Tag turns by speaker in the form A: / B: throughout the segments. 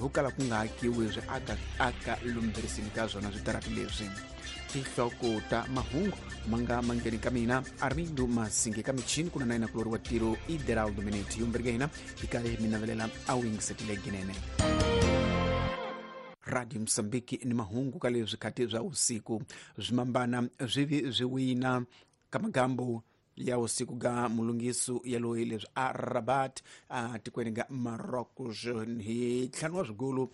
A: ho kala ku nga akiwi swi aka aka lumberisini ka swona switarati leswi. Tinhloko ta mahungu ma nga mangheni ka mina Armindo Masinge ka michini ku na na yena kulori wa tiro Ideraldo Mineti yombirhi ka hina hi karhi mi navelela a wu yingisetile ginene. Radio Mosambiki ni mahungu ka leswi khati swa usiku swimambana swi vi swi wina ka magambo ya usiku ga mulungisu ya loyi leswi a Rabat a tikweni ga Marocos hi ntlhanu wa swigolo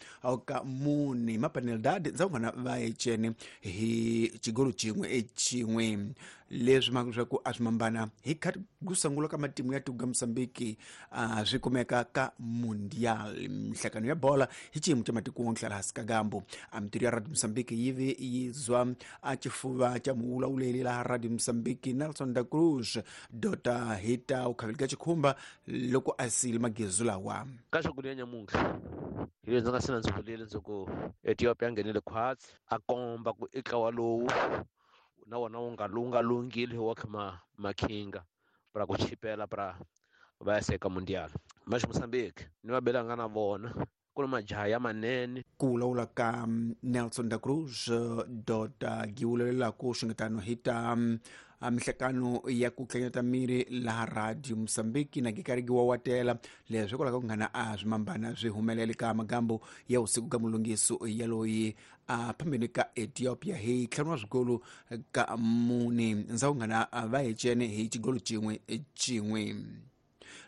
A: ka mune mapaneldad ndzawungana va ecene hi xigolo xin'we exin'we leswi mhaka leswaku a swi mambana hi khati ku sungula ka matimu ya tiko ga Mosambiki a swi kumeka ka Mundial mihlangano ya bola hi xiyimo xa matiko wonke laha hansi ka gambo. A mitirho ya Radio Mosambiki yi vi yi zwa a xifuva xa muvulavuleli laha Radio Mosambiki Nelson da Cruz dota hi ta u khaveli ka xikhumba loko a siyile magezu lawa.
B: Ka swakudya nyamuntlha hi leswi ndzi nga se na ndzi vulile ndzi ku Ethiopia a nghenile khwatsi a komba ku i ntlawa lowu na wona wu nga lowu nga lunghile wa kha ma makhinga pra ku chipela pra va ya seka mundial. Mas Mozambique ni va belanga na vona ku na majaha ya manene.
A: Ku vulavula ka Nelson da Cruz dota giwulelelaku swingetano hi ta mihlekano ya ku tlanyata miri laha Radio Mosambiki na gikarigi wa watela leswi hikwalaho ka ku nghana a swimambana swi humelele ka magambo ya usiku ka mulungiso ya loyi a phambeni ka Ethiopia hi ntlhanu wa swigolo ka mune ndzawungana va hecene hi xigolo xin'we xin'we.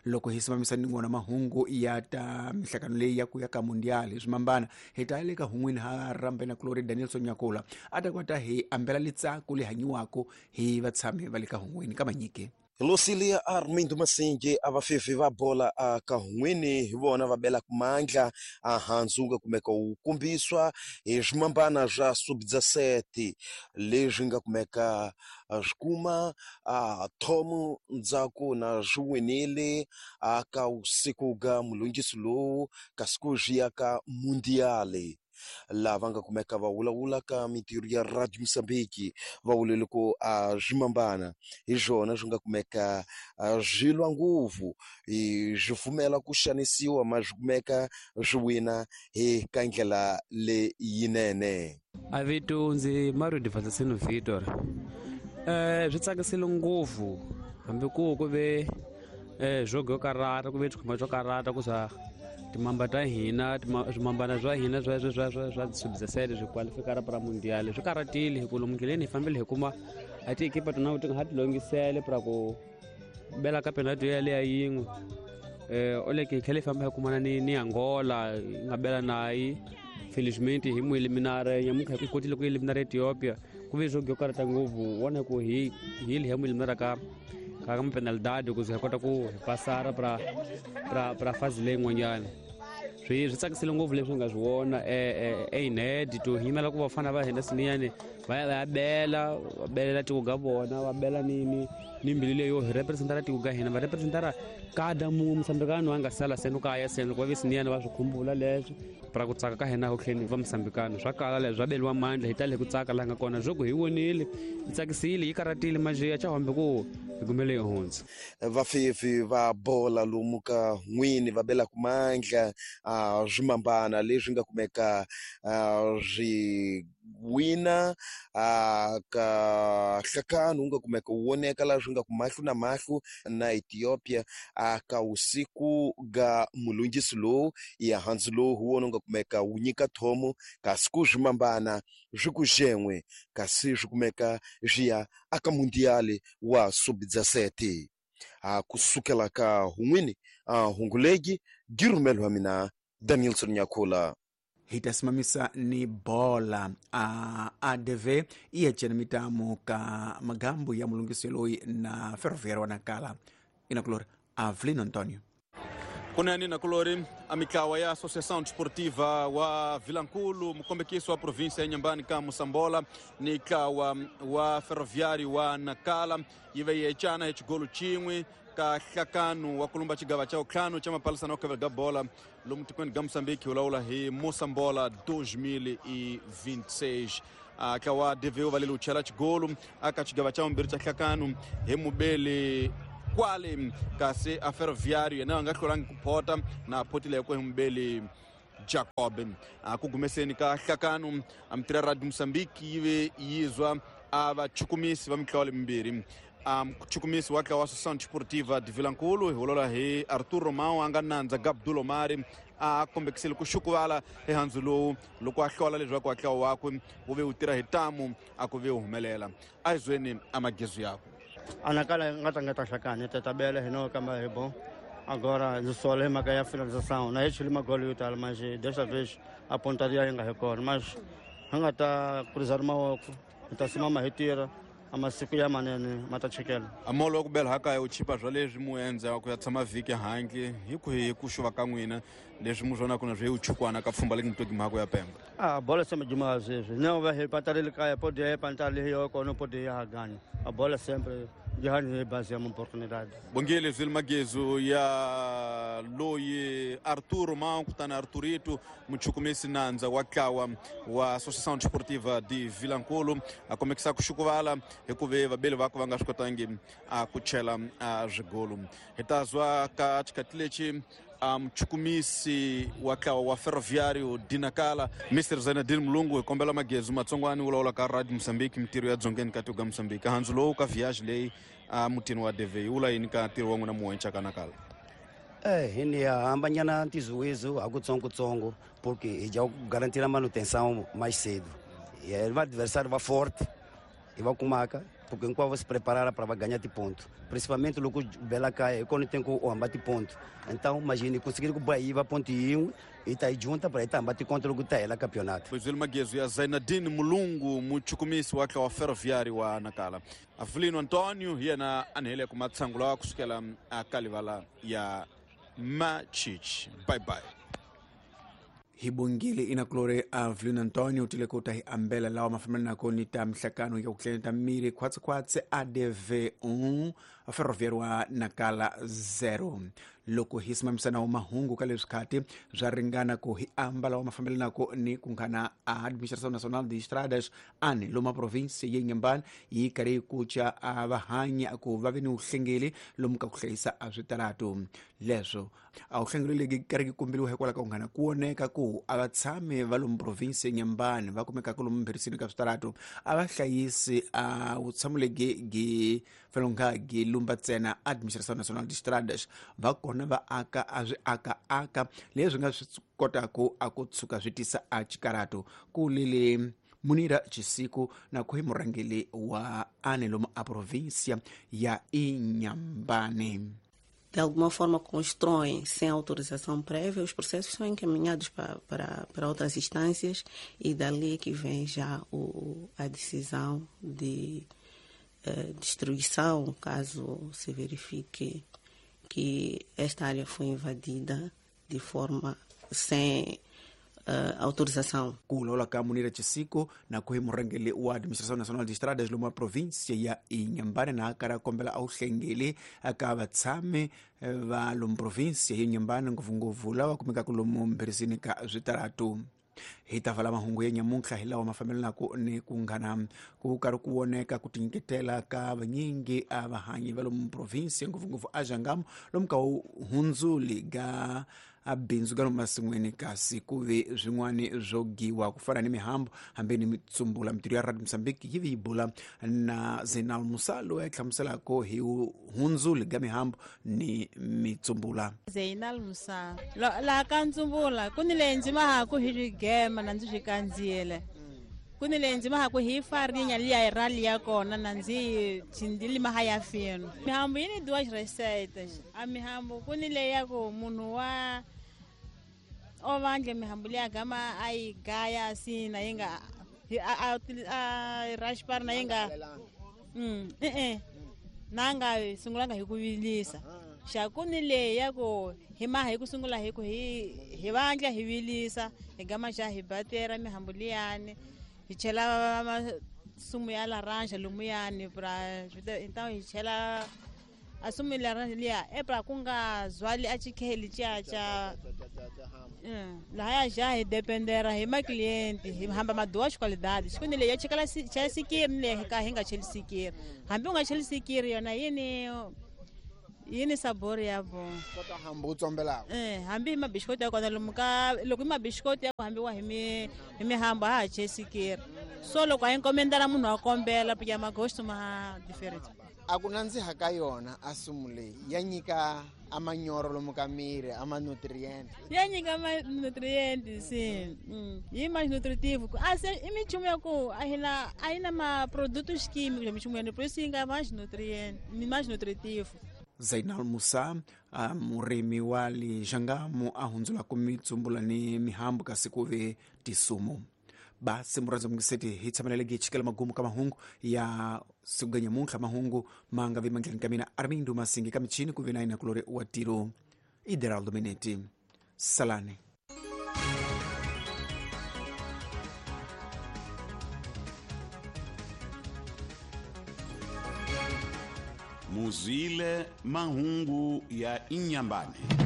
A: Loko hi simamisa ni wona mahungu ya ta mihlangano leyi ya ku ya ka mundial hi swimambana hi ta le ka hun'wini ha rambena kulori Danielson Nyakula a ta kota hi ambela litsako le hanyiwako hi vatshami va le ka hun'wini ka manyike.
C: Lucilia Armindo Masinge a vafefe va bola a ka hun'wini hi vona va belaka mandla a handzu nga kumeka wu kombiswa hi swimambana swa sub-17 leswi nga kumeka swi kuma a thomo ndzhaku na swi winile a ka usiku ga mulungisi lowu kasi ku swi ya ka mundiale. Lava nga kumeka va vulavula ka mintirho ya Radio Mozambique va vulele ku a swimambana hi swona swi nga kumeka swi lwa ngopfu swi pfumela ku xanisiwa ma swi kumeka swi wina hi ka ndlela leyinene.
D: A vito ndzi Mario Divatasino Vitor. Swi tsakisile ngopfu hambi ku ku ve jogo yo karata ku ve xikhumba xo karata ku swa timamba ta hina swimambana swa hina swa swa swa swa swa sub-17 swi qualifikara pra mundial swi karatile hi ku lomu ndleleni hi fambile hi kuma a tiekipa tona ti nga ha ti longisele pra ku bela ka penalty yaleya yin'we. Oleke hi tlhela hi famba hi kumana ni Angola hi nga bela nayi felizmente hi mu eliminare nyamuntlha hi kotile ku eliminara Ethiopia ku ve swo karata ngopfu wona ku hi hi hi mu eliminara ka ka mapenalidade ku ze hi kota ku hi pasara pra pra pra fazi leyin'wanyana. Swi swi tsakisile ngopfu leswi nga swi vona eined to hi yimela ku vafana va hina siniyani va ya va ya bela va belela tiko ga vona va bela ni ni ni mbilu leyo hi representara tiko ga hina va representara kada mun'we musambikano a nga sala seno kaya seno loko va ve siniyani va swi khumbula leswo pra ku tsaka ka hina ho tlheni va musambikano swa kala leswi swa beliwa mandla hi tale ku tsaka laha nga kona swo ku hi vonile yi tsakisile yi karatile maje ya chahambe ku hi kumele hi hundza.
C: Vafefi va bola lomu ka n'wini va belaka mandla a swimambana leswi nga kumeka swi wina a ka hlakano wu nga kumeka wu voneka laha swi nga ku mahlo na mahlo na Ethiopia a ka usiku ga mulungisi lowu ya handzu lowu hi wona wu nga kumeka wu nyika thomo kasi ku swimambana swi ku xen'we kasi swi kumeka swi ya aka mundiali wa sub-17 a kusukela ka hun'wini a hungulegi girumelo wa mina Danielson Nyakula.
A: Hi ta simamisa ni bola a ADV i ya cena mitamo ka magambo ya mulungisi loyi na ferroviário wa Nacala inakulori Avelino Antonio.
E: Kunene nakulori a mitlawa ya Associação Desportiva wa Vilankulu mukombekiso wa província ya Inhambane ka Moçambola ni ntlawa wa Ferroviário wa Nacala yi ve yi ecana hi xigolo xin'we ka hlakano wa kulumba xigava xa vutlhanu xa mapalisana wa kavela ga bola lomu tikweni ga Mozambique wu lawula hi Moçambola 2026. A ntlawa DV wu valele wu chela xigolo aka xigava xa vumbirhi xa hlakano hi mubeli kwale kasi a Ferroviário yena a nga hlulangi ku phota na photile hi ku hi mubeli Jacob. Ku gumeseni ka hlakano a mitirho ya Radio Mozambique yi ve yizwa a vachukumisi va mitlawa lemimbirhi. Muchukumisi wa ntlawa wa Associação Desportiva de Vilankulu hi vulavula hi Arthur Romão a nga nandza Gabdul Omari a kombekisile ku xukuvala ehandzu lowu loko a hlola leswaku ntlawa wakwe wu ve wu tirha hi tamu a ku ve wu humelela. A hi zweni amagezu yakwe.
F: Anakala nga tlangeta hlakani tetabele hi no kamba hi bom. Agora ndzi sola hi mhaka ya finalização na hi chuli magolo yo tala mas desta vez a pontaria yi nga hi kona, mas hi nga ta kurisa mavoko hi ta simama hi tirha a masiku ya manene ma ta chekela.
E: Amolo wa ku bela hakaya u chipa swa leswi mu endza ku ya tshama vhiki handle hi ku hi ku xuva ka n'wina leswi mu swonaka na swi u chukwana ka pfhumba leki mitoki mhako ya Pemba.
F: A bola se majuma sweswi ne va hi patarile kaya podi ya pantale yo kona podi ya hagani a bola sempre jihani hi base ya oportunidade.
E: Bongile zwile magezu ya loyi Arthur Romão kutani Arthurito muchukumisi nandza wa ntlawa wa Associação Desportiva de Vilankulu a kombekisa ku xukuvala hikuva vabeli vakwe va nga swi kotangi a ku chela a swigolo. Hi ta zwa ka xikhathi lexi a muchukumisi wa ntlawa wa Ferroviário de Nacala Mr Zainadine Mulungu hi kombela magezu matsongwani vulavula ka Radio Mozambique mitirho ya dzongeni ka tiko ka Mozambique handzu lowu ka viage leyi a mutini wa DV wula yini ka ntirho wa n'wina muwenca ka Nacala?
G: Hi ya hambanyana ntizuwizu hakutsongotsongo porque hi dya ku garantira manutenção mais cedo. E o adversário va forte e va kumaka porque hinkwavo se preparara para ganhar de ponto. Principalmente loko bela kaya, quando tem que o ambate ponto. Então, imagine conseguir que o Bahia va ponto e e tá aí junta para estar ambate contra o que ela campeonato.
E: Pois ele magezu ya Zainadine Mulungu muchukumisi wa ntlawa wa Ferroviário wa Nacala. Avelino Antonio yena anhele ku matsangula kusukela a kalivala ya Machichi. Bye bye.
A: Hi bongile inakulore Avelino Antonio tile ku ta hi ambela lawa mafambelana ni ta mihlakano ya ku tleleta miri khwatsekhwatse ADV 1 Ferroviário wa Nacala 0. Loko hi simamisana wa mahungu ka leswi khati swa ringana ku hi amba lawa mafambelanako ni ku nghana a Administração Nacional de Estradas ani loma province ya Inhambane yi karhi yi kuca a vahanyi ku va ve ni vuhlengeli lomu ka ku hlayisa a switaratu leswo a vuhlengeli legi karhi ki kombiwa hikwalaho ka ku nghana ku voneka ku a va tshami va lomu province ya Inhambane va kumekaka lomu mbherisini ka switaratu a va hlayisi a vutshamo legi gi fanele gi lumba ntsena Administração Nacional de Estradas va kona va aka a swi aka leswi nga swi kotaku a ku tshuka swi tisa a xikaratu ku lele Munira Chisiku na ku hi murhangeri wa ane lomu a província ya Inhambane.
H: De alguma forma constroem sem autorização prévia, os processos são encaminhados para outras instâncias e dali que vem já a decisão de destruição, caso se verifique que esta área foi invadida de forma sem autorização.
A: Ku vulavula ka Munira Chisiko na ku hi murhangeri wa Administração Nacional de Estradas lomu província ya Inhambane na kara kombela a vuhlengeli ka vatshami va lomu província ya Inhambane ngopfungopfu lava kumekaka lomu mbherisini ka switaratu. Hi ta vala mahungu ya nyamuntlha hi lawa mafambelanaka ni ku nghana ku karhi ku voneka ku tinyiketela ka vanyingi a vahanyi va lomu province ngopfungopfu a Jangamo lomu ka hundzuli ga a bindzu ga lomu masin'wini kasi ku ve swin'wani swo giwa ku fana ni mihambu hambi ni mitsumbula. Mitirho ya Radio Mozambique yi vi yi bula na Zenal Musa loyi a hlamuselaka hi hundzuli ga mihambu ni mitsumbula.
I: Zeinal Musa laha ka ntsumbula ku ni leyi ndzi mahaku hi swigema na ndzi swi kandziyele ku ni leyi ndzi mahaku hi farinya liya rali ya kona na ndzi lima ya fino. Mihambu yi ni duas receitas. A mihambu ku ni leyi ya ku munhu wa o vandle mihambu liya gama a yi gaya asina yi nga a raspar na yi nga na nga sungulanga hi ku vilisa. Xa ku ni leyi ya ku hi maha hi ku sungula hi ku hi vandla hi vilisa hi gama xa hi batera mihambu liyani hi chela masumu ya laranja lumuyani pra então hi chela a sumu ya laranja liya e pra ku nga zwali a chikheli cha cha lahaya já hi dependera hi macliente hi hamba maduas qualidades ku ni leyi ya chekela cha sikiri ni leyi ka hi nga cheli sikiri hambi u nga cheli sikiri yona yini Yi ni sabor ya bon.
J: Kota hambi u tsombelaka.
I: Hambi hi mabixikoti ya kona lomu ka loko i mabixikoti ya ku hambiwa hi mi hi mihambo a ha chesikeri. So loko a yi nkomendela munhu wa kombela porque magosto ma different.
J: A ku nandziha ka yona a sumu leyi ya nyika a manyoro lomu ka miri a ma-nutrient.
I: Ya nyika ma-nutrient si. Yi mais nutritivo. A se i minchumu ya ku a hi na a yi na ma-produtos químicos minchumu ya por isso yi nga mais nutrient mais nutritivo.
A: Zainal Musa, murimi wa le Xangamu a hundzulaka mitsumbula ni mihambu kasi ku ve tisumu. Basi murhandzi mungiseti hi tshamelele chikela magumu ka mahungu ya siku ga nyamuntlha. Mahungu ma nga vi mandleni ka mina Armindo Masingi, ka michini ku ve na yina kulori wa tiro Ideraldo Meneti. Salani.
K: Muzwile mahungu ya Inyambane.